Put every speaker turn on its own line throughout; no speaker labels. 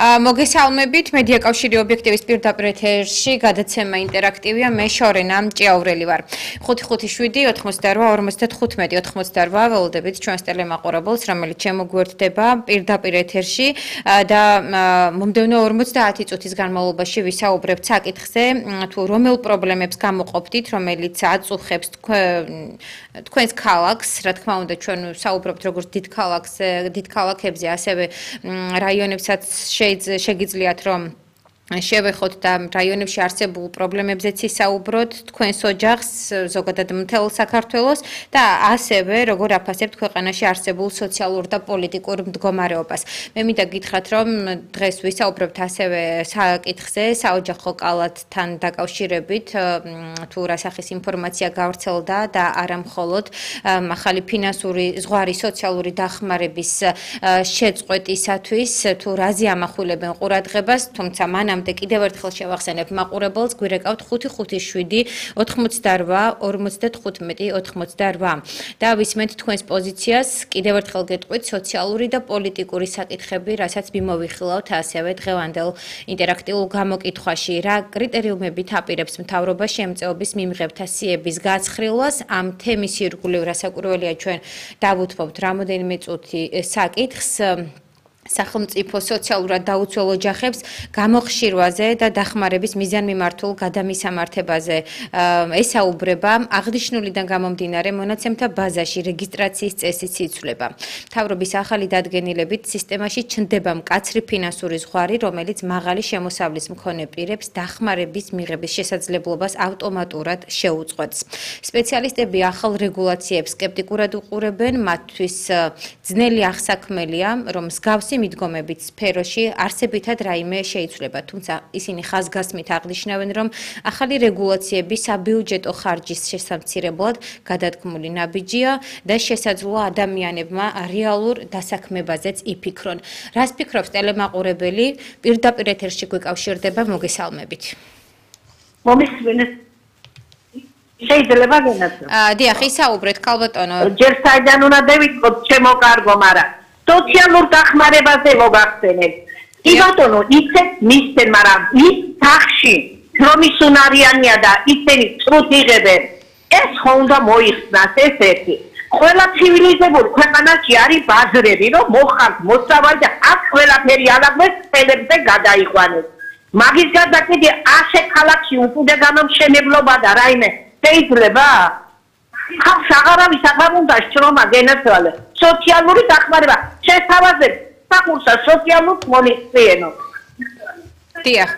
მოგესალმებით, მედია კავშირი ობიექტივის პირდაპირ ეთერში გადაცემა ინტერაქტივია, მე შორენა ჭიაურელი ვარ. 557-88-55-88 ველოდებით ჩვენს ტელემაყურებელს, რომელიც შემოგვერთდება პირდაპირ ეთერში და მომდევნო 50 წუთის განმავლობაში ვისაუბრებთ საკითხზე, თუ რომელ პრობლემებს გამოყოფდით, რომელიც აწუხებს თქვენს ქალაქს, რა თქმა უნდა, ჩვენ ვსაუბრობთ როგორც დიდ ქალაქებზე, ასევე რაიონებსაც შეგიძლიათ რომ შევეხოთ და რაიონებში არსებულ პრობლემებზეც ისაუბროთ თქვენს ოჯახს, ზოგადად მთელ საქართველოს და ასევე როგორ აფასებთ ქვეყანაში არსებულ სოციალურ და პოლიტიკურ მდგომარეობას. მე მინდა გითხრათ, რომ დღეს ვისაუბრებთ ასევე საკითხზე, საოჯახო კალათთან დაკავშირებით, თუ რა სახის ინფორმაცია გავრცელდა და არა მხოლოდ ახალი ფინანსური ზღვარი სოციალური დახმარების შეწყვეტისათვის, თუ რაზე ამახვილებენ ყურადღებას, თუმცა კიდევ ერთხელ შევახსენებ მაყურებელს, გვირეკავთ 557-88-95-88 და ვისმენთ თქვენს პოზიციას, კიდევ ერთხელ გეტყვით სოციალური და პოლიტიკური საკითხები, რასაც მიმოვიხილავთ ასევე დღევანდელ ინტერაქტიულ გამოკითხვაში, რა კრიტერიუმებით აპირებს მთავრობა შემწეობის მიმღებთა სიების გაცხრილვას, ამ თემის ირგვლივ რასაკვირველია ჩვენ დავუთმობთ რამოდენიმე წუთი საკითხს სახელმწიფო სოციალურად დაუცველ ოჯახებს გამოხშირვაზე და დახმარების მიზანმიმართულ გადამისამართებაზე ესაუბრება აღნიშნულიდან გამომდინარე მონაცემთა ბაზაში რეგისტრაციის წესის იცვლება. მთავრობის ახალი დადგენილებით სისტემაში ჩნდება მკაცრი ფინანსური ზღვარი, რომელიც მაღალი შემოსავლის მქონე პირებს დახმარების მიღების შესაძლებლობას ავტომატურად შეუწყვეტს. სპეციალისტები ახალ რეგულაციებს სკეპტიკურად უყურებენ, მათთვის ძნელი აღსაქმელია, რომ მსგავსი მიდგომებით სფეროში არსებითად რაიმე შეიცვლება, თუმცა ისინი ხაზგასმით აღნიშნავენ, რომ ახალი რეგულაციები საბიუჯეტო ხარჯის შესამცირებლად გადადგმული ნაბიჯია და შესაძლოა ადამიანებმა რეალურ დასაქმებაზეც იფიქრონ. რას ფიქრობს ტელემაყურებელი? პირდაპირ ეთერში გვეკავშირდება, მოგესალმებით.
მომისმენთ. შეიძლება განაცვლო.
დიახ, ისაუბრეთ, ქალბატონო.
ჯერ საიდან უნდა დავიწყოთ, შემოკარგო, მაგრამ სოციალურ დახმარებაზე მოგახსენეთ. კი ბატონო, იცით მისცენ, მაგრამ ის სახში რომ ის უნარიანია და ისინი წრუთ იღებენ. ეს ხო უნდა მოიხსნას ეს ერთი. ყველა ცივილიზებულ ქვეყანაში არის ბაზრები, რომ მოხართ, მოსწავლე და აქ ყველაფერი ალაგდეს ხელებზე გადაიყვანეს. მაგის გარდა კიდე 100 ქალაქში უკიდე განამშენებლობა და რაიმე შეიძლება? ხალხს აღარავის აღარ უნდა შრომა გენაცვალე. სოციალური დახმარება შეთავაზებს საკურსა სოციალურ მონისტრიენო.
დიახ.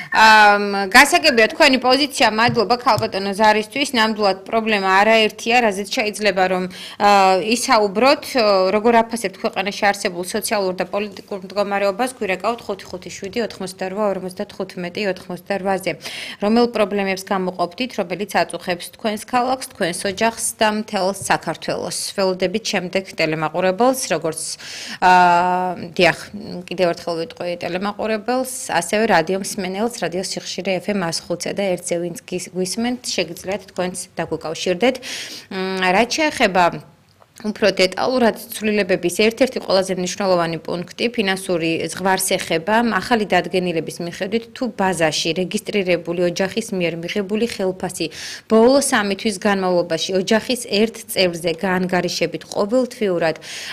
გასაგებია თქვენი პოზიცია, მადლობა ქალბატონო ზარისთვის, ნამდვილად პრობლემა არაერთია, რაზეც შეიძლება რომ ისაუბროთ, როგორ აფასებთ ქვეყანაში არსებულ სოციალურ და პოლიტიკურ მდგომარეობას, გვირეკავთ 557-88-95-88-ზე. რომელ პრობლემებს გამოყოფდით, რომელიც აწუხებს თქვენს ქალაქს, თქვენს ოჯახს და მთელ საქართველოს. ველოდებით შემდეგ ტელემაყურებელს, როგორც დიახ, კიდევ ერთხელ ვიტყვი ტელემაყურებელს, ასევე რადიო მსმენელს, რადიო სიხშირე FM 105 და 1-ზე ვინც გვისმენთ, შეგიძლიათ თქვენც დაგვიკავშირდეთ. რაც შეეხება უფრო დეტალურად ცვლილებების ერთ-ერთი ყველაზე მნიშვნელოვანი პუნქტი ფინანსური ზღვარს ეხება ახალი დადგენილების მიხედვით თუ ბაზაში რეგისტრირებული ოჯახის მიერ მიღებული ხელფასი ბოლო 3 თვის განმავლობაში ოჯახის ერთ წევრზე გაანგარიშებით ყოველთვიურად